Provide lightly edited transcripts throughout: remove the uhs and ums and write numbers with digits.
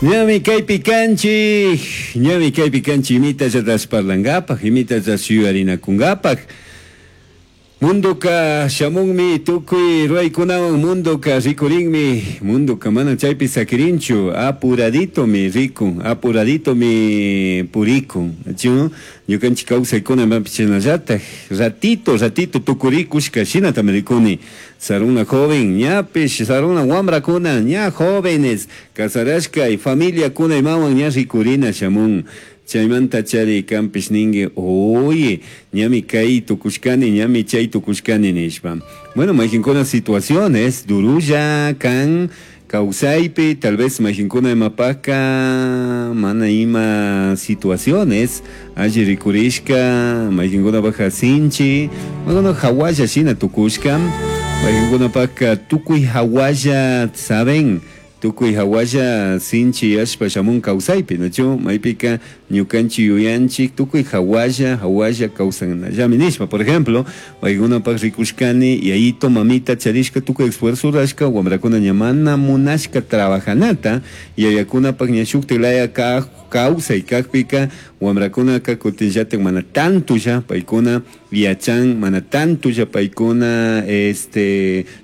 Ñami kaypi kanchik, ñami kaypi kanchik imitallatash parlankapak, imitallatash yuyarinakunkapak. Mundoka shamunmi tukuy ruraykunawan mundoka rikurinmi, mundoka mana chaypi sakirinchu, apuraditomi rikun, apuraditomi purikun. Chu ñukanchik kawsaykuna imapish chashnallatak ratito ratito tukurikushka shinatami rikuni. Saruna joven ñapish, saruna wambrakuna ña jóvenes casarashka y familiakuna imawan ña rikurina shamun. Chaymanta chari kanpish ningui, oye, ñami kay tukushkani, ñami chay tukushkani nishpa. Bueno, mayqinkuna situaciones durulla kan kawsaypi, tal vez mayqinkuna imapaka mana ima situaciones alli rikurishka, mayqinkunapaka sinchi, mayqina hawalla shina tukushka, mayqinkunapaka tukuy hawalla saben, tukuy hawalla sinchi yashpa shamun kawsaypi, nachu? Maypika ñukanchik yuyanchik tukuy hawalla hawalla kawsanallami nishpa. Por ejemplo, paykunapak rikushkani yayito mamita charishka tukuy esfuerzo rurashka wambrakuna ña mana munashka trabajanata, yayakunapak ña shuktik laya kawsay kakpika wambrakunaka kutinllatak mana tantolla paykuna yachan, mana tantolla paykuna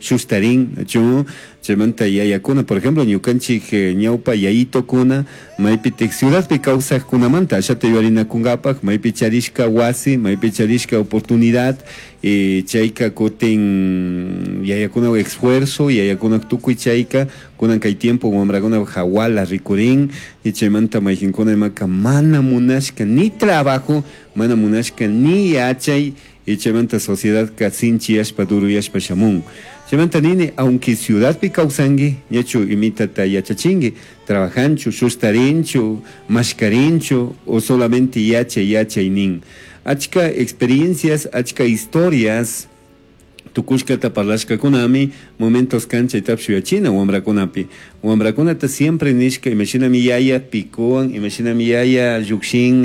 shustarin, nachu? Chaymanta yayakuna, por ejemplo, ñukanchik ñawpa yayitokuna maypitik ciudadpi kawsaqkunamanta ashata yuyarinakunkapak maypi charishka wasi, maypi charishka oportunidad, chayka kutin yayakuna esfuerzo, yayakuna tukuy chayka kunan kay tiempo wambrakuna hawala rikurin, y chaymanta mayqinkuna imaka mana munashka ni trabajo, mana munashka ni yachay, y chaymanta sociedadka sinchiyashpa duruyashpa shamun. Chaymanta nini, aunque ciudadpi kawsanki, ñachu imitata yachachinki, trabajanchu, shustarinchu, mashkarinchu, o solamente yachay, yachay nin. Achka experiencias, achka historias, tukushkata parlashkakunami momentos kan chaytapish yuyachina wambrakunapi. Wambrakunata siempre nishka imashinami yaya picowan, imashinami yaya llukshin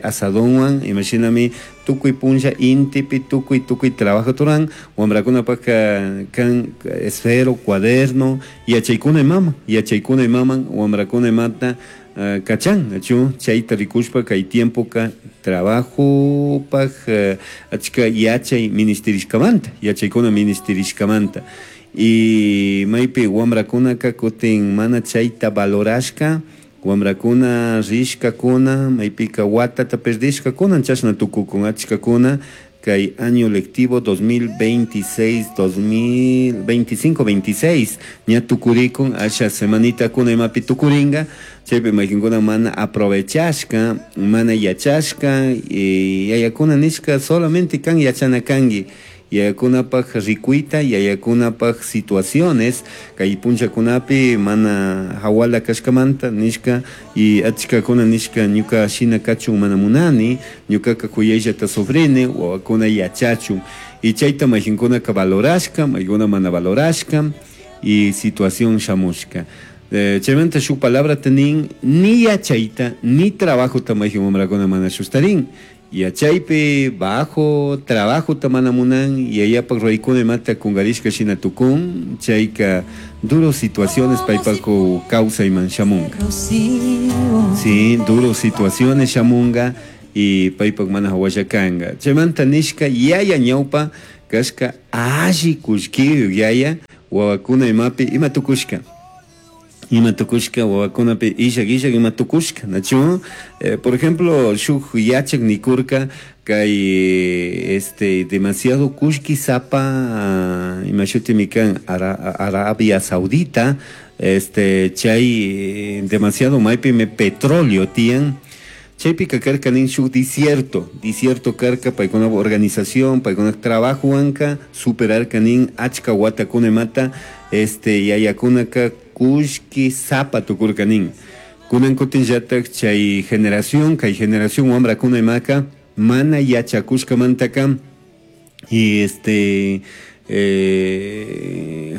asadonwan, imashinami tukuy punlla intipi tukuy tukuy trabajo turan, wambrakunapaka kan esfero, cuaderno, yachaykuna imama, yachaykuna imaman, wambrakuna imata kachan, nachu chayta rikushpa kay tiempoka trabajopaj achka yachay ministerishkamanta, yachaykuna ministerishkamanta. Y maypi wambrakunaka kutin mana chayta valorashka, wambrakuna rishkakuna, maypika watata perdishkakuna, chashna tukukun achkakuna kay año lectivo 2026, 2025, 26, ña tukurikun, asha semanitakuna imapi tukuringa, chaypi mayqinkuna mana aprovechashka, mana yachashka, y yayakuna nishka solamente kan yachana kanki, yayakunapak rikuyta, yayakunapak situaciones, kay punllakunapi mana hawala kashkamanta nishka, y achkakuna nishka ñuka shina kachun mana munani, ñukaka kuyayllata sufrini, wawakuna yachachun, y chayta mayqinkunaka valorashka, maykuna mana valorashka, y situación shamushka. Chaymanta shuk palabra tenin, ni yachayta, ni trabajota mayqin wamrakuna mana shustarin. Yachaypi bajo trabajo mana munan, yayapak ruraykuna imata kunkarishka shina tukun, chayka duro situaciones paypaku kawsayman shamunka. Sí, duro situaciones shamunga y paypak mana hawalla kanka. Chaymanta nishka yaya ñawpa kashka alli kullkiyuk yaya wawakuna imapi ima tukushka. Ima tukushka wawakunapi illak illak ima tukushka, nachu? Por ejemplo, shuk yachak nikurka kay demasiado kullki sapa, ima shutimi kan Arabia Saudita, chay demasiado maypimi petróleo tiyan, chaypika karka nin shuk desierto, desierto karka paykuna organización, paykuna trabajowanka superarka nin achka watakuna imata, yayakunaka kullki sapa tukurka nin. Kunan kutinllatak chay generación, kay generación wambrakuna imaka mana yachakushkamantaka y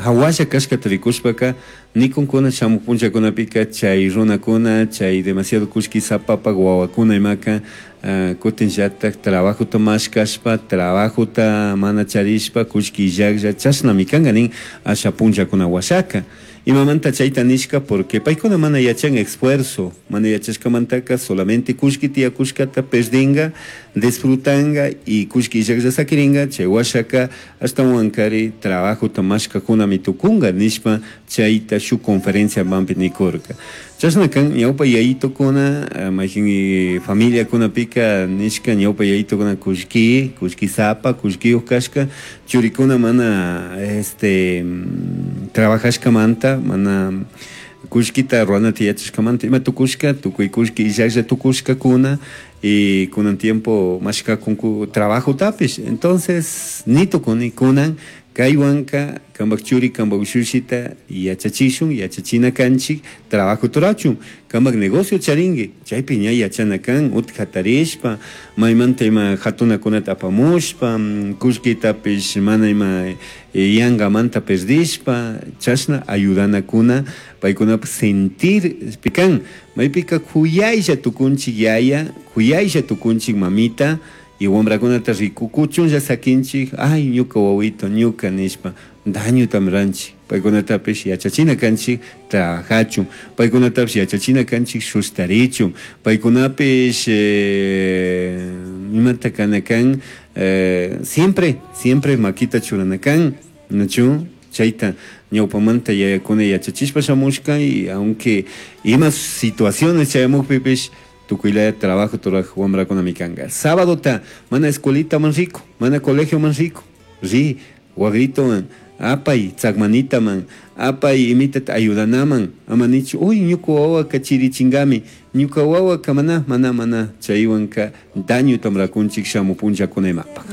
hawalla kashkata rikushpaka nikunkuna shamuk punllakunapika chay runakuna, chay demasiado kullki sapapak wawakuna imaka, kutinllatak trabajota mashkashpa, trabajota mana charishpa, kullki illaklla chashnami kanka nin asha punllakuna washaka. Imamanta chayta nishka porque paykuna mana yachan esfuerzo, mana yachashkamantaka solamente kullki tiyakushkata perdinga, disfrutanga y kullki illaklla sakiringa, chay washaka ashtawankari trabajota mashkakunami tukunga nishpa chayta shuk conferencia manpi nikurka. Chashna kan ñawpa yayitukuna mayjin familiakunapika nishka ñawpa yayitukuna kullki, kullkisapa, kullkiyuq kashka, churikuna mana este trabajashkamanta, mana kullkita ruranata yachashkamanta ima tukushka, tukuy kullki illaklla tukushkakuna y kunan tiempo mashkakunku trabajotapish. Entonces ni tukuni kunan kaywanka kampak churi kampak ushushita yachachishun, yachachina kanchik trabajo turachun, kampak negocio charinki, chaypi ña yachana kan utka hatarishpa maymanta ima hatunakunata apamushpa, kullkitapish mana ima yankamanta perdishpa, chashna ayudanakuna paykunapak sentir kan, maypika kuyaylla tukunchik yaya, kuyaylla tukunchik mamita, y wambrakunata rikukuchunlla sakinchik, ay ñuka wawito, ñuka nishpa, dañotam ranchik, paykunatapish yachachina kanchik trabajachun, paykunatapish yachachina kanchik sustarichun, paykunapish imata kana kan, siempre, siempre makita churana kan, nachu? Chayta ñawpamanta yayakuna yachachishpa shamushka y aunque ima situaciones chayamukpipish tukuylaya trabajo turaj wambrakunami kanka. Sábado ta mana escuelita man rico, mana colegio man rico, ri wagritowan apay tzakmanitaman, apay imitata ayudanaman, ama nichu, uy ñuka wawaka chirichingami, ñuka wawaka mana, mana, mana, chaywanka daño tamrakunchik shamu punllakunaymapak.